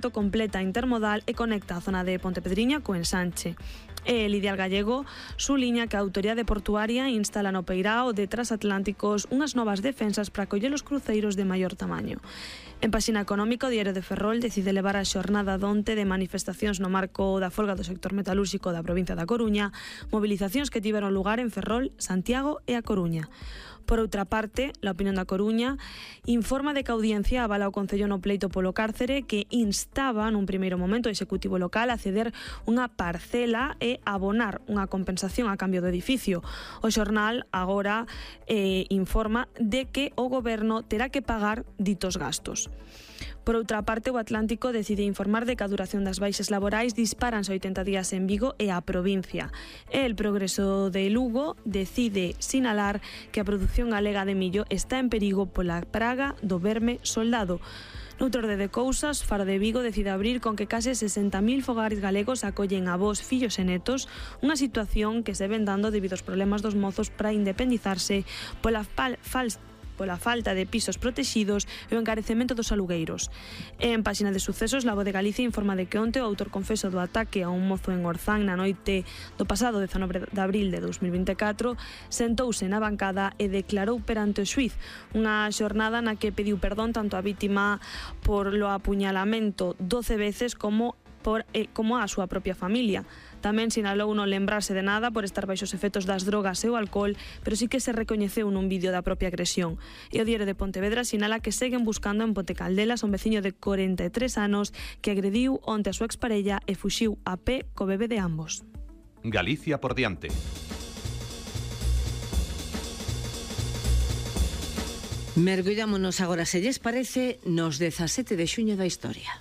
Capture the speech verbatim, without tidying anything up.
completa intermodal e conecta a zona de Pontepedriña co Ensanche. E Lidial Gallego suliña que a Autoridade Portuaria instala no peirao de Transatlánticos unhas novas defensas para acoller os cruceiros de maior tamaño. En páxina económica, o Diario de Ferrol decide levar a xornada donte de manifestacións no marco da folga do sector metalúrxico da provincia da Coruña, movilizacións que tiveron lugar en Ferrol, Santiago e a Coruña. Por outra parte, La Opinión da Coruña informa de que a Audiencia avala o Concello no pleito polo cárcere, que instaba nun primeiro momento o Executivo local a ceder unha parcela e abonar unha compensación a cambio do edificio. O xornal agora eh, informa de que o Goberno terá que pagar ditos gastos. Por outra parte, o Atlántico decide informar de que a duración das baixas laborais disparanse oitenta días en Vigo e a provincia. El Progreso de Lugo decide sinalar que a produción galega de millo está en perigo pola praga do verme soldado. Noutro orde de cousas, Faro de Vigo decide abrir con que case sesenta mil fogares galegos acollen avós, fillos e netos, unha situación que se ven dando debido aos problemas dos mozos para independizarse pola fal falsa pola falta de pisos protexidos e o encarecemento dos alugueiros. En páxina de sucesos, La Voz de Galicia informa de que onte o autor confeso do ataque a un mozo en Orzán na noite do pasado dezanove de abril de dous mil vinte e catro sentouse na bancada e declarou perante o xuíz, unha xornada na que pediu perdón tanto a vítima por lo apuñalamento doce veces como por eh, como a súa propia familia. Tamén sinalou non lembrarse de nada por estar baixo os efectos das drogas e o alcohol, pero sí que se recoñeceu nun vídeo da propia agresión. E o Diario de Pontevedra sinala que seguen buscando en Ponte Caldelas un veciño de corenta e tres anos que agrediu onte a súa exparella e fuxiu a pé co bebé de ambos. Galicia por diante. Mergullámonos agora, se lles parece, nos dezasete de xuño da historia.